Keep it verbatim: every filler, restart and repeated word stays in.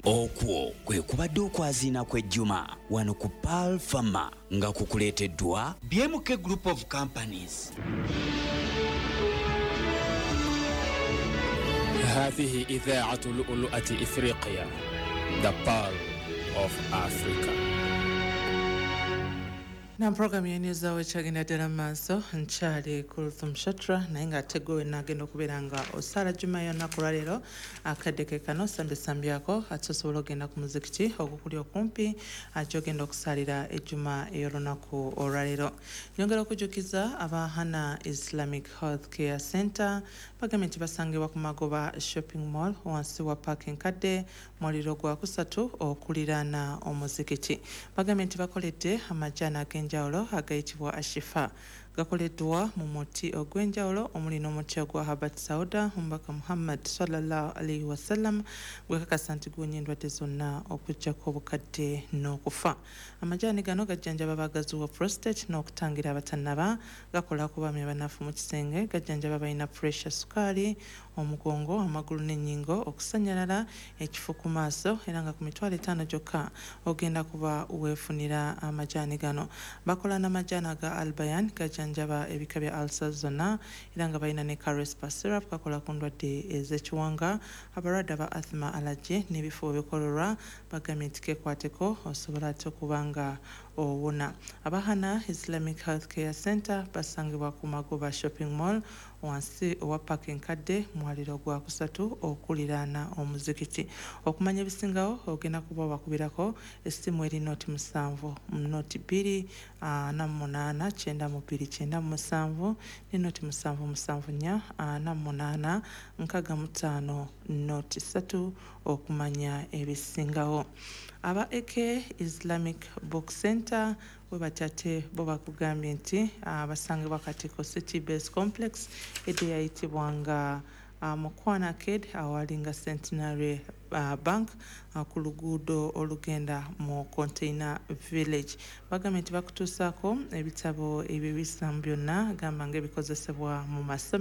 Okwo kwe kubadde okwaziina kw'ejjuma wano ku Pearl Pharma nga kukuleeteddwa B M K Group of Companies. هذه إذاعة لؤلؤة إفريقيا، The Pearl of Africa. Na programu yenyezawo ekyagenda ddala mu maaso nkyali Kulthum Shatra, naye ng'ate gwe wenna agenda okubeera nga osaala Juma yonna ku lwaleero akadde ke kano sambisambyako, ate osobola okugenda ku muzikiti ogukuli okumpi gy'ogenda okusaalira ejjuma ey'olunaku olwaleero. Nyongera okujjukiza aba Hana Islamic Health Care Center bagambye nti basangibwa ku Magoba Shopping Mall wansi wa Park Enkadde muliro gwa kusatu okuliraana omuzikiti. Bagambye nti bakoledde amajaani ag'enjawulo agayitibwa Ashifa, gakoleddwa mu muti ogw'enjawulo omuli n'omuti ogwa Habat Sauda omubaka Muhammad sallallahu alaihi wasallam gwekakasa nti guwonya endwadde zonna okuggyako obukadde n'okufa. Amajaani gano gajjanjaba abagazi wa prostate n'okutangira abatannaba, gakola ku baami abanafu mu kisenge, gajjanjaba balina pressure, sukaali, omugongo, amagulu n'ennyingo, okusannyalala, ekifo ku maaso, era nga ku mitwalo etaano gyokka ogenda kuba weefunira amajaani gano. Bakola n'amajaani aga Albayan, gajjanjaba ebika bya ulcers zonna, era nga balina ne Carespa syrup, kakola ku ndwadde ez'ekiwanga, abalwadde aba asthma, allergy n'ebifo ebikololwa bagambye nti keekwateko osobola ate okuba nga owona. Abahana Islamic Health Care Center basangibwa ku Magoba Shopping Mall wansi owa Park Enkadde mwaliro gwa kusatu okuliraana omuzikiti. Okumanya ebisingawo ogenda kuba obakubirako essimu eri noti musanvu noti bbiri ana munaana kyenda mu bbiri kyenda mu musanvu ne noti musanvu musanvu nnya ana munaana nkaaga mu ttaano noti ssatu okumanya ebisingawo. Aba A K Islamic Book Center we batate bo bakugambye nti basangibwa Katiko City Base Complex edde yayitibwanga Mukwana Arcade awalinga Centenary uh, Bank uh, ku luguudo olugenda mu Container Village. Bagambye nti bakutuusaako ebitabo eby'ebisiramu byonna gamba ng'ebikozesebwa mu masomero.